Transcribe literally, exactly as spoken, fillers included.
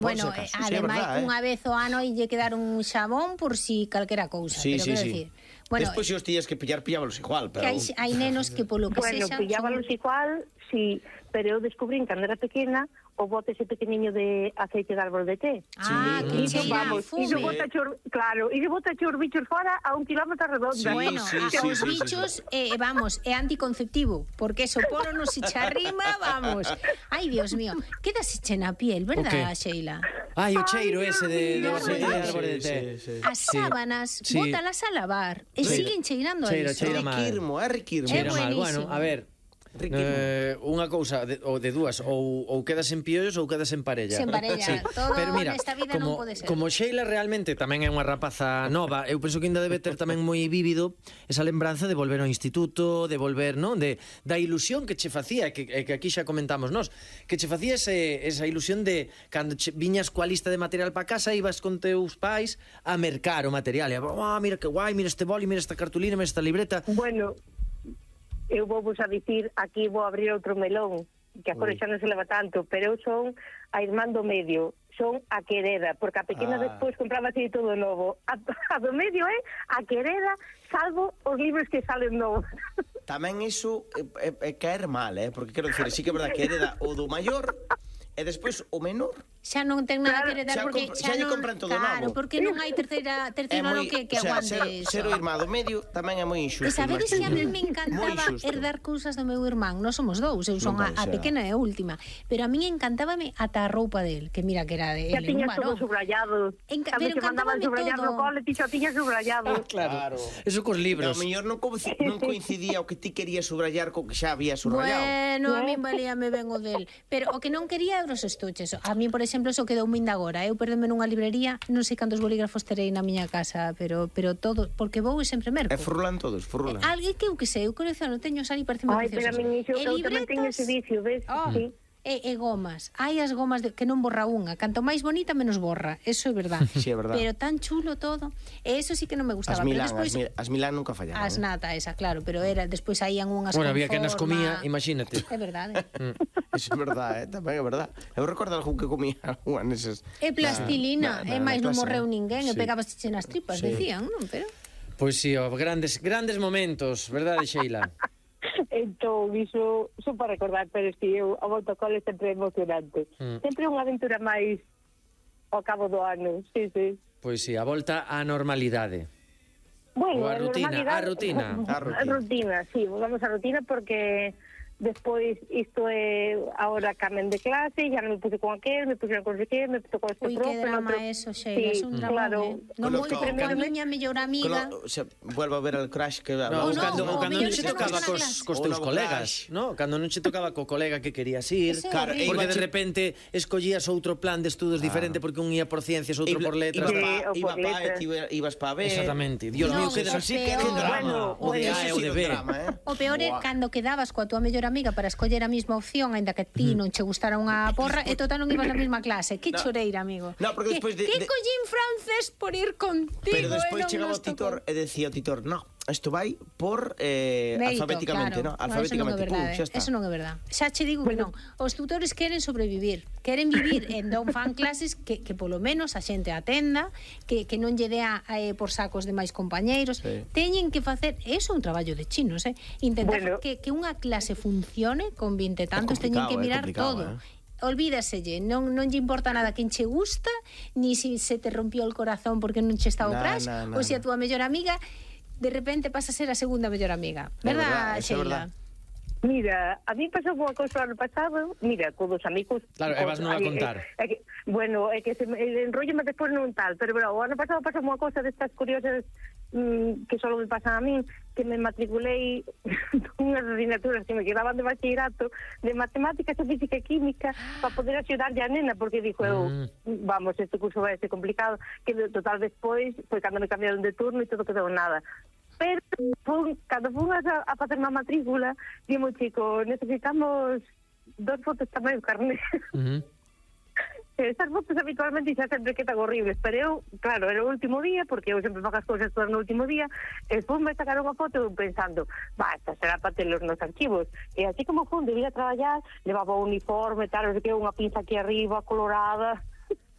Bueno, eh, ademais, unha vez o ano lle quedar un xabón por si calquera cousa, sí, pero sí, quero sí. dicir... Bueno, despois se os tías que pillar, pillábalos igual, pero... Que hai, hai nenos que polo que bueno, sexa... Bueno, pillábalos son... igual, sí, pero eu descubrín cando era pequena o bote ese pequeniño de aceite de árbol de té. Ah, sí. que cheira a fume. E bota chor, claro, e bota chor bichos fora a un kilómetro redonda. Sí, bueno, sí, a, sí, os sí, bichos, sí, eh, sí. vamos, é anticonceptivo, porque eso polo no se charrima, vamos. Ai, Dios mío, quedase che na piel, verdad, Sheila? Ai, o cheiro Ay, ese de, de Dios aceite de mío. árbol de té. Sí, sí, sí. As sábanas, Sí. bótalas a lavar e Sí. siguen cheirando a Cheira, iso. cheira É mal. riquirmo, é riquirmo. É Cheira mal. buenísimo. Bueno, a ver, eh, unha cousa de, ou de dúas, ou, ou quedas en piollos ou quedas en parella. Sen parella, todo Pero mira, nesta vida como, non pode ser. como Sheila realmente tamén é unha rapaza nova, eu penso que ainda debe ter tamén moi vívido esa lembranza de volver ao instituto, de volver, non? De, da ilusión que che facía, que, que aquí xa comentamos nós, que che facía ese, esa ilusión de cando che, viñas coa lista de material para casa, ibas con teus pais a mercar o material, e, oh, mira que guai, mira este boli, mira esta cartulina, mira esta libreta. Bueno, eu vou vos a dicir, aquí vou abrir outro melón, que agora xa non se leva tanto, pero eu son a irmán do medio, son a que hereda, porque a pequena Ah. despois compraba así todo novo. A, a do medio é a que hereda, salvo os libros que salen novos. Tamén iso é, é, é caer mal, eh? Porque quero dicir, sí que é verdad que hereda o do maior e despois o menor. Xa non ten nada Claro, que heredar xa porque compra- xa xa lle non, compran todo claro, novo. porque non hai terceira terceiro É ano moi- que, que o sea, aguante ser, eso. ser o irmán do medio tamén é moi E injusto. sabedes que a mí me Moi encantaba injusto. herdar cousas do meu irmán. Non somos dous, eu son a, Non a pode ser. pequena e a última. Pero a mí encantábame ata a roupa del, que mira que era de Xa ele, un tiñas todo varón. subrayado. Enca- Cando pero te mandaban encantábame subrayar todo. no cole, ti xa tiñas subrayado. Claro. Eso cos No, libros. o mellor non, co- non coincidía o que ti querías subrayar co que xa había subrayado. Bueno, a mí valíame ben o del. Pero o que non quería eran os estuches. A mí, por exemplo, eso quedou min de agora. Eu perdeme nunha librería, non sei cantos bolígrafos terei na miña casa, pero pero todo, porque vou e sempre merco. E frulan todos, frulan. Alguén que eu que sei, eu colecciono, teño ali parece moi Ai, pero a min iso, E eu tamén teño libretas, ese vicio, ves? Oh, Sí. e, e gomas. Hai as gomas de, que non borra unha. Canto máis bonita, menos borra. Eso é verdad. Sí, é verdad. Pero tan chulo todo. E eso sí que non me gustaba. As Milán, pero despois, as, Mil- as Milán nunca fallaban. as nata esa, claro, pero era despois saían unhas Bueno, con había que nas forma. comía, imagínate. É verdade. Eso é verdade, eh? Tamén é verdade. Eu recordo algún que comía algunha neses... É plastilina, na- na- e máis na non clase, morreu eh? ninguén, e Sí. pegabas chiche nas tripas, Sí. decían, non? Pero Pois si, oh, grandes grandes momentos, verdade, Sheila? Entón, iso, iso para recordar, pero es que eu, a volta ao cole sempre é emocionante. Mm. Sempre unha aventura máis ao cabo do ano, sí, sí. Pois si, a volta á normalidade. Bueno, Ou a rutina, normalidade- a rutina. A rutina. A rutina, sí, volvamos a rutina porque despois isto é ahora camen de clase, ya non me puse con aquel, me pusieron con aquel, me tocou este ui, profe, que drama outro- eso, Sheila, Sí, é un drama, claro. eh? Non Con lo moi que- con a con- miña mellor amiga. Con lo- o sea, vuelvo a ver el crash que... No, Oh, ou no, cando, o ou cando mellor non que che tocamos tocaba na cos, clase. cos O teus novo colegas, crash. no? Cando non che tocaba co colega que querías ir, Ese é Claro, horrible. porque de Iba- repente escollías outro plan de estudos diferente porque un ia por ciencias, outro por letras. Ibas Sí, pa, ou iba por pa, letras. e ti ibas pa B. Exactamente. Dios Non, mío, que o así peor- que un drama. Bueno, O de bueno, A e eso o sí de que B. é un drama, eh? O peor é Buah. cando quedabas coa tua mellor amiga para escoller a mesma opción, aínda que ti non che gustara unha porra, e total non ibas na mesma clase. Que No. choreira, amigo. No, porque Que- despois de- Que de- collín francés por ir contigo, Pero despois e non chegaba nos o titor tocou. e decía o titor, no, isto vai por eh, Mérito, alfabéticamente, claro. no? Alfabéticamente, Eso non é pum, verdade, xa está. eso non é verdade. Xa che digo que non. Os tutores queren sobrevivir, queren vivir en non fan clases que, que polo menos a xente atenda, que, que non lle dea eh, por sacos de máis compañeiros. Sí. Teñen que facer, eso é un traballo de chinos, eh? Intentar Bueno. que, que unha clase funcione con vinte e tantos, teñen que complicado, é mirar complicado, todo. eh. Olvídaselle, non, non lle importa nada quen che gusta, ni si se te rompió el corazón porque non che estaba o Na, crash, na, na, ou se a na. túa mellor amiga de repente pasa a ser a segunda mellor amiga. É Verdad, verdad, eso é Sheila? verdad. Mira, a mí pasou unha cousa ano pasado, mira, con dos amigos... Claro, e vas non a Ai, contar. É, é que, bueno, é que se me, el enrollo me despois non tal, pero bueno, o ano pasado pasou unha cousa destas curiosas mm, que só me pasan a mí, que me matriculei unhas asignaturas que me quedaban de bachillerato de matemáticas, e física e química para poder axudarlle a nena, porque dixo eu, Mm. vamos, este curso vai ser complicado, que de- total despois, foi cando me cambiaron de turno e todo quedou nada. Pero fun, cando fun a, a facer unha matrícula, dimo chico, necesitamos dos fotos tamén do carné. Uh -huh. Estas fotos habitualmente xa sempre quedan horribles, pero eu, claro, era o último día, porque eu sempre fago as cousas todas no último día, e fun me sacar unha foto pensando, va, esta será para telos nos archivos. E así como fun, debía traballar, levaba o uniforme, tal, non sei que, unha pinza aquí arriba, colorada.